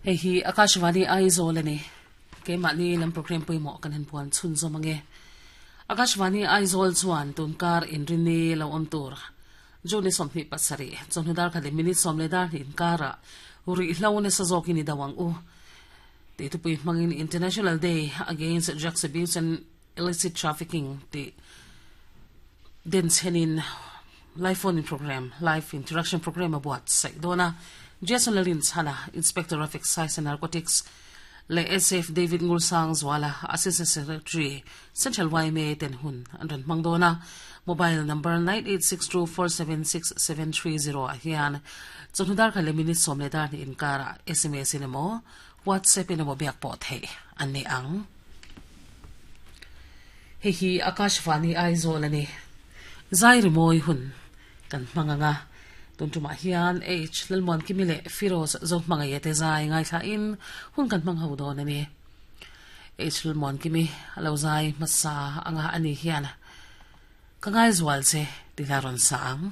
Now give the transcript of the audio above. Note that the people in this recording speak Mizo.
Hei hi Akashvani Aizawl a ni. Keimahni lam program pawimawh kan han puan chhunzawm ange. Akashvani Aizawl chuan tunkar inrini lo awm tur June 27 chawhnu dar khat leh minute 12 inkarah ruihhlo nasa zawkin i do ang u tih thupui hmangin International Day Against Drugs Abuse and Illicit Trafficking tih denchhenin Live Phone-in Programme, Live Interaction Programme a buatsaih dawn a. Jason Lalinchhana, Inspector of Excise and Narcotics leh SF David Ngulsang Zuala, Assistant Secretary, Central yma ten hun an rawn hmang dawn a. Mobile number 9862476730 ah hian chawhnu dar khat leh minute 12 inkarah sms in emaw WhatsApp in emaw biak pawh theih an ni ang. Hei hi Akashvani Aizawl a ni. Zai rimawi hun kan hmang ang a, tun tumah hian H Lalmuankimi leh Firoz Zohmangaia te zai ngaithlain hun kan hmang ho dawn a ni. H Lalmuankimi a lo zai hmasa anga a ni hian ka ngaizual che tih la rawn sa ang.